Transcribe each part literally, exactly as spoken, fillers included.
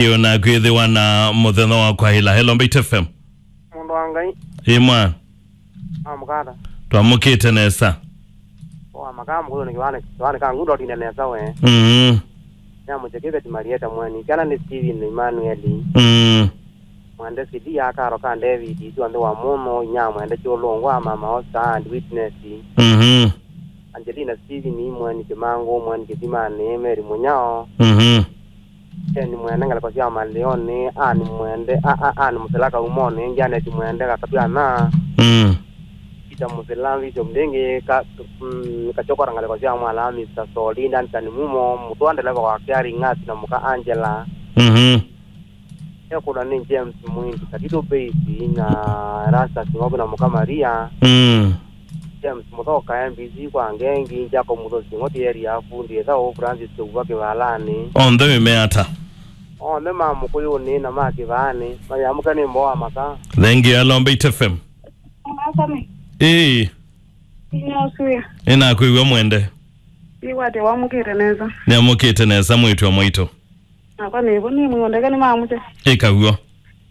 Ĩyo na kwĩthĩwa na mũthenya wa kwaĩla. Hello, Mbaitu F M. Mũndũ wa Ngai. Ĩmwa. Amũkata. Twamũkĩte nesa. Wa makaa mũkũyũ nĩ kĩwanĩ, kĩwanĩ ka ngundo tine nesa we. Mm. Nyamũkye kĩveti Marieta mweni. Kana nĩ Steven na Emmanuel. Mm. Mwende Silia, Karo ka David, ithuothe wa mũno, inya mwende Kyũlũngwa, mama Oscar and Witness. Mhm. Angelina Steven, Mweni Kĩmangũ, Mweni Kĩthimani, Mary Mũnyao. Mhm. Ken Mwende ngalĩko sya Maleonĩ, Ann Mwende, a, a, Ann Mũsela Kaumoni, Janet Mwende Kakatw'ana. Mm. Peter Mũsela, Vision Ndĩngĩ, ka, mm, Kachokora ngalĩko sya Mwala, Mister Soli, Duncan Mumo, Mũtwa ndeleva wa Kiari, Ng'asi na mũka Angela. Mhm. Ekũlwa nĩ James Mwindi, Katito Base, na Erastus Ng'obi na mũka Maria. Mm. James Mũthoka, M B C kwa Ngengi, Jacob Mũthosi, Ng'oti area, Fundi Ethau, Francis Kĩuva Kĩvalani. Onthe wĩmeata? Onthe ma Mũkũyũnĩ na ma Kĩvaanĩ, mayamũke nĩ mboa maka. Thank you, Alombeit F M. Asami. Ĩĩ. Inyoswia. Ĩnakwĩw'a Mwende. Iwate wamũkĩte nesa. Nĩamũkĩte nesa mwĩĩtu wa mwaitũ. Nakwa nĩvo nĩ mwĩondeke nĩ mamũte. Ĩka w'o.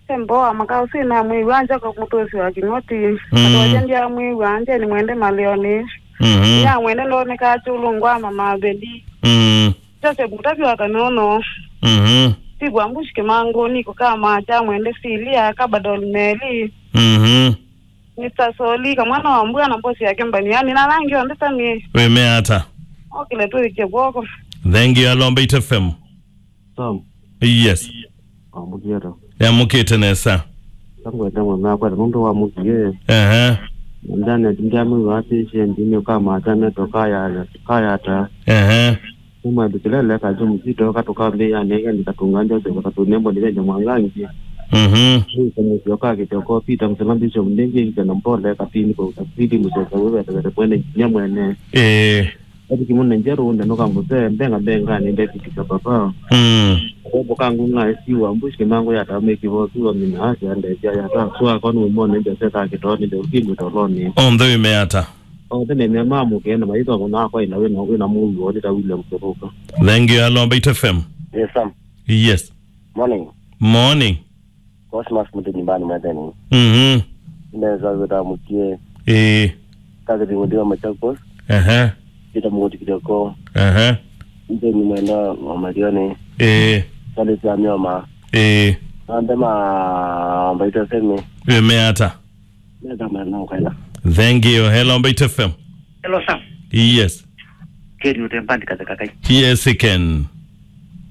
Embo wa makao sina mwĩw'a Jacob Mũtũsi wa Kĩng'oti. Mm. Atoja ndia mwĩw'a Jeni Mwende Maleonĩ. Mhm. Ya Mwende ndonekaa Kyũlũngwa mama Abeli. Mm. Joseph Mutavi wa Kanono. Mhm. Steve Ambush Kĩmangũ, Niko Kama, Kya Mwende Silia, Kabadol Meli. Mhm. Mister Soli, kamwana wa mbua na mbosi yake mbaniani, na nangi onthe Sami. Wĩmeata? Okile twĩkye kwoko. Thank you, Alombeit F M. Sam. Yes. Wamũkie ta. Nĩamũkĩte nesa. Sangwenda mwana akwata nũndũ wa mũkie. Ehe. Ndane ndamwĩwa atĩ siendi nĩ kama atane to kaya, kayata. Ehe. Kuma ndikilele kajo mzito katukambe ya nege ndikatunga ndio sio katunembo ndio mwangangi. Mhm. Ni kama sio kake toko Peter msema bisho ndenge ika na mpole kapini kwa utafiti msio kwa wewe mwene mwene. Eh. Ati kimune njerũ nde nũkambũse mbenga mbenga nĩ ndekĩkĩsya papa. Mm. Bobo kangu ng'aĩ siwa mbushi mangu yatamĩkiwa siwa mina asi andesya yata sua kwanu mone ndese ka kĩtoni nde ũkimwĩtoloni. Onthe wĩmeata? Onthe nĩmemamũkĩe na maitho kũna kwa ila wĩna, wĩna mũuo nĩ ta William Kĩrũka. Thank you, Alombeit F M. Yes, Sam. Yes. Morning. Morning. Cosmas Mũte nyumbani Mwetheni. Mhm. Nesa wĩta mũkie. Ĩĩ. Catherine Mũte wa Machakos. Ehe. Peter Mũgũti Kĩtoko. Ehe. Mpeni Mwenda wa Marioni. Ĩĩ. Charles Amioma. Ĩĩ. Nande ma Mbaitũ Semi. Wĩmeata? Nesa mwana ũkaila. Thank you. Hello, Mbaitũ F M. Hello, Sam. Yes. Ken Ũtemba ndikatheka kai. Yes, Ken.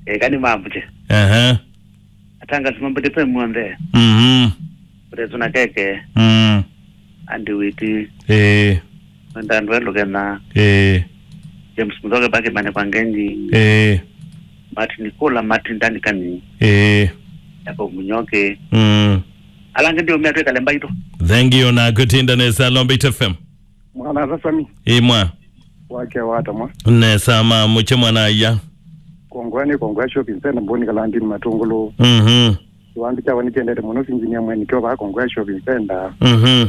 Eh, kani mambuche. Ehe. Atangasi mambete pe muonthe. Mhm. Ũtetũ na keke. Mm. Andi witi. Eh. Wenda andũ elũkena. Eh. James Muthoke baki mane kwa ngenji. Eh. Martin Kula, Martin Danikani. Eh. Yako Munyoke. Mm. Alange ndio mia twekale Mbaitũ. Thank you na kutinda nesa Alombeit F M. Mwana Sasami. Imwa. Wake watamwa. Nesa ma muche mwana ya. Kongwani kongwa shopping center mboni kalandini matungulu. Mhm. Kiwandu kya wani kendete muno sinjinia mweni kyo ba kongwa shopping center. Mhm.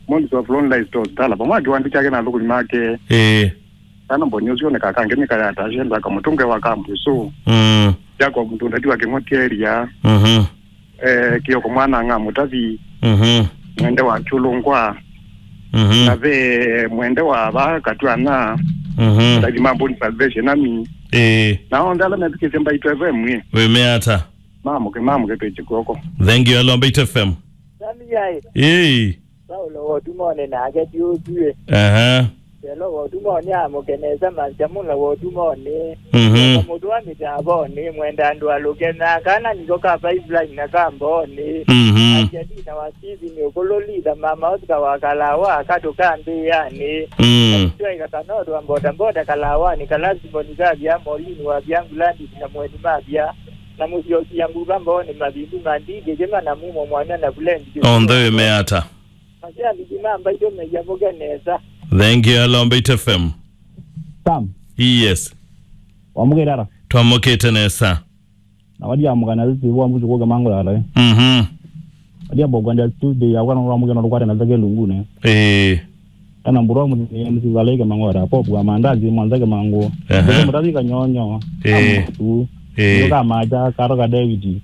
Mondi so front line stores tala pamwe kiwandu kyake na lukuni make. Eh. Kana mboni usio ne kakange ni kaya ta shenda kamutunge wa kambusu. Mm. Yako mutunda tiwa kimoteria. Mhm. Eh, Kioko mwana ng'a Mũtavi, Mhm. Mwende wa Kyũlũngwa, Mhm. na ve Mwende wa va Katwana, Mhm. Ndathi Mamboni Salvation Army. Eh. Na onthe ala methikĩsye Mbaitũ F M ĩ. Wĩmeata? Mamũke, mamũke twĩkye kw'oko. Thank you, Alombeit F M. Sami yaĩ. Ĩĩ. Paulo wa ũtumonĩ nake ti ũtw'e. Aha. Paulo wa ũtumonĩ amũke nesa, Masya Mula wa ũtumonĩ. Mhm. Mũndũ wa mĩtavonĩ, Mwenda andũ alũke, na kana niko ka pipeline na ka mboonĩ. Mhm. Angelina wa Steven ũkũlũ, Litha, mama Oscar wa Kalawa, katũ ka mbĩanĩ. Mm. Twaika kanotwa mboda mboda Kalawanĩ, Kalasiboni Gavia, Molini wa Vyangu Landis na Mweni Mavia, na mũsyokia mbuva mboonĩ, mavindu ma ndithĩ, kĩma na mumo mwanya na vulendi. Onthe wĩmeata? Mashabiki ma Mbaitũ meya mũke nesa. Thank you, Alombeit F M. Sam. Yes. Wamũkĩte ata? Twamũkĩte nesa. Na wadia mũkana sisi wa mbuzi kuoga mango ya rai. Mhm. Wadia bogo ndia Tuesday ya wana wa mũkana rukwata na zake lungune. Eh. Kana mburu wa mũthenya msizaleke mangora pop wa mandazi mwanzake mango. Aha. Mtavi kanyonyo. Eh. Amutu. Eh. Ndukamakya, karoka David.